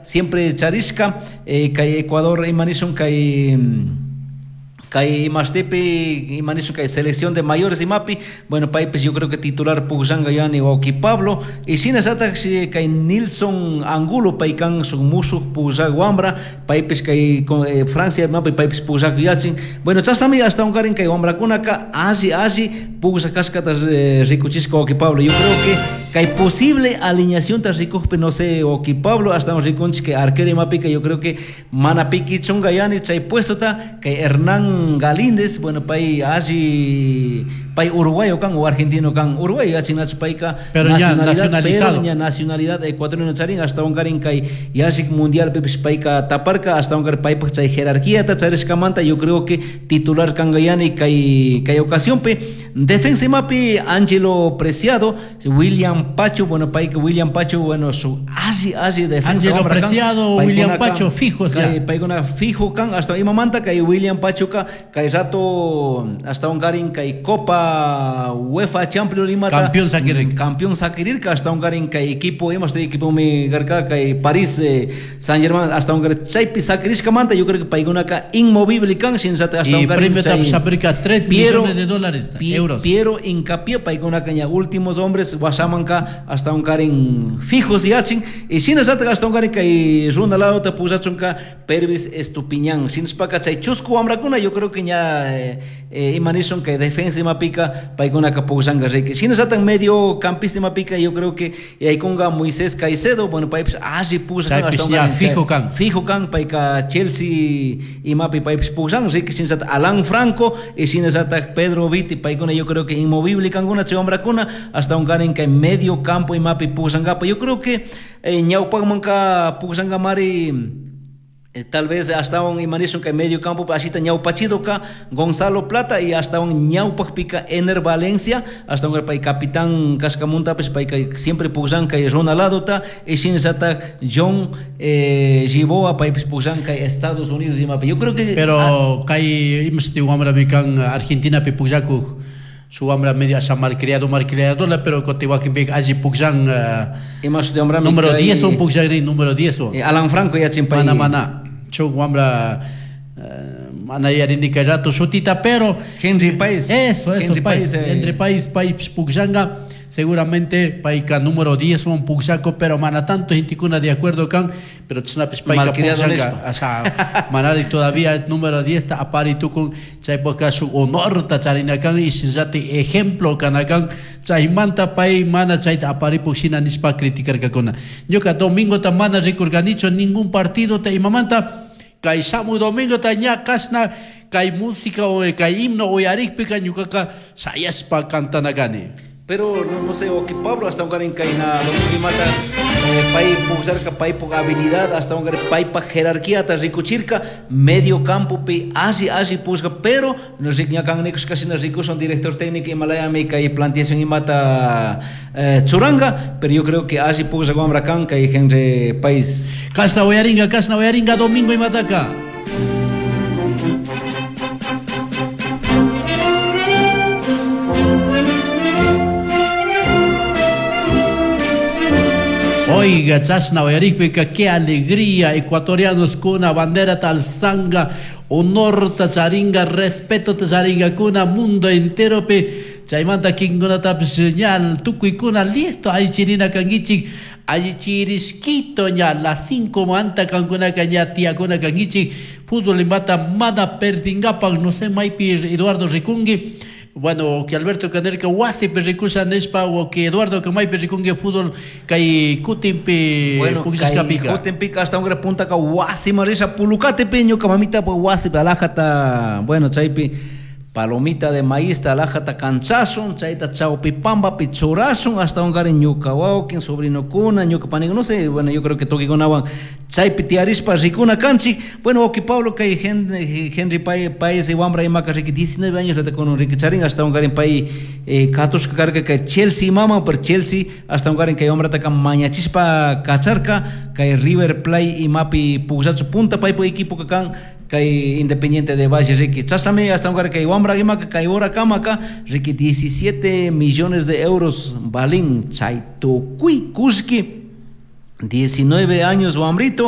siempre charishka kay Ecuador imanishun kay kay imashtipi imanishun kay selección de mayores imapi, bueno, paypish yo creo que titular pukllanga yani wawki Pablo. Y shinallatak kay Nilson Angulo, pay kan shuk mushuk pukllak wambra, paypish kay Francia imapi paypish pukllak yachin. Bueno, chashnami ashtawankarin kay wambrakunaka alli alli pukllak kashkata rikuchishka, wawki Pablo. Yo creo que kay posible alineacionta rikukpi, no sé, wawki Pablo, ashtawan rikunchik kay arquero imapika, yo creo que mana pikichunga yani chay puestota kay Hernán Galíndez. Bueno, pay alli, pay uruguayo kan o argentino kan, uruguayo yachinachu payka. Pero ya nacionalizado. Pero ña nacionalidad ecuatoriana charin, ashtawankarin kay yallik mundialpipish payka taparka, ashtawankarin paypak chay jerarquiata charishkamanta yo creo que titular kanka yani kay ocasionpi. Defensa imapi Angelo Preciado, William Pacho, bueno, payka William Pacho, bueno, su alli alli defensa Angelo wambra kan. Preciado, William Paykunaka Pacho, fijos ya. Kay paykuna fijo kan, hasta imamanta kay William Pachuca kay rato ashtawankarin kay Copa UEFA Champions imata Campeón sakirirka. Campeón sakirirka, ashtawankarin kay equipo imashti equipo mi garka kay Paris Saint-Germain, ashtawankarin chaypi sakirishkamanta yo creo que paykunaka inmovible kan, shinallata Y ashtawankarin premio chay aprica 3 Piero millones de dólares, euros. Piero Hincapié, paykunaka ña últimos hombres washamanka ashtawankarin fijos yachin, y shinallata ashtawankarin kay runa ladota pullachunka Pervis Estupiñán. Shinashpaka chay chusku wambrakuna yo creo que ña imanishun kay defensa imapika paykunaka pukllanka riki. Shinallata medio campista imapika yo creo que yaykunga Moisés Caicedo, bueno, paypish alli pukllan, Chaypish ashtawankarin ya chay fijo kan. Fijo kan, payka Chelsea imapi paypish pukllan riki. Shinallata Alan Franco y shinallata Pedro Viti, paykuna yo creo que inmovible kankuna chay wambrakuna, ashtawankarin kay medio campo imapi pukllankapa. Yo creo que ñawpakmanka pukllankamari tal vez hasta un imanishun kay medio campo asita ñawpachidoka Gonzalo Plata y hasta un ñawpakpika Ener Valencia, hasta un pay capitán kashkamuntapish payka siempre pukllan kay Ronaldota y shinallata John Giboa paypish pukllan kay Estados Unidos imapi. Yo creo que Pero ah, kay imashti wambrami kan Argentina pi pukllakuk, su wambra medio asa malcriado, malcriadola, pero cotihuaquimpica alli pukllan, Imashti wambrami número kay 10 un pukllakrin, número 10 un. Alan Franco yachin pay. Mana, mana. Chuk wambra, mana yarini kay rato shutita, pero Henry Páez. Eso, eso, Henry Páez. Páez, Henry Páez, Páez pukllanga, seguramente payka número 10 un pukllako, pero mana tanto genticuna de acuerdo kan, pero chasnapish payka Malcriado pukllanga, nishpa. o sea, manari todavía número 10 ta apari tukun, chaypaka shuk honor ta charina kan, y shinllati ejemplo kanakan, chaymanta pay mana chayta apari pukshina nishpa criticarkakuna. Ñuka domingo ta mana rikurkanichu ningún partido ta imamanta, kay shamu domingo ta ña kashna kay música o kay himno uyarikpika ñukaka shayashpa cantanakani. Pero no, no sé, o que Pablo hasta un garin kay na domingo imata, pay puksarka, pay puk habilidad, hasta un garin pay pa jerarquía ta rikuchirka, medio campo pi así, así puska, pero no sé, ña kan nikus casi no rikus son director técnico Himalaya mi kay planteación imata churanga, pero yo creo que así puska guambra kan kay Henry País. Kasna uyaringa, kasna uyaringa domingo imataka. Oiga, chasna uyarikpika, qué alegría, ecuatorianos kuna bandera talzanga, honor tacharinga, respeto tacharinga kuna, mundo entero pe, chaymanta kingunatapish ña tukuykuna listo, ay chirina kankichik, ay chirisquito ña, las 5 manta kankunaka ña tiyakuna kankichik, fútbol imata mana perdingapak, no sé, maypi Eduardo Ricungui, bueno, que Alberto Canerca wasi rikusha nishpa, o que Eduardo Kamaypi rikungi fútbol kay kutinpi Bueno, pukllashkapika. kay kutinpika hasta un gran punta ka wasi marisha pulukate peño kamamita pa wasi alajata, bueno, chaypi palomita de maíz ta alajata canchasun, chayta chawpi pambapi churasun, hasta un gari ñuka wawkin, sobrino kuna, ñuka panik, no sé, bueno, yo creo que tukikunawan chaypi tiarishpa rikuna kanchik. Bueno, oki Pablo kay Henry Páez y wambra imaka riki 19 años le con Enrique Charín, hasta un gari pay katushka karka kay Chelsea mama, per Chelsea, hasta un gari kay wambra taka mañachispa kacharka, kay River Plate imapi pugllachu punta paypu equipo kakan, kay Independiente de Valle Ricky. Chasame hasta un kay wambra imaka kay hora kamaka Ricky 17 millones de euros balín chay tukuy kushki 19 años wambrito.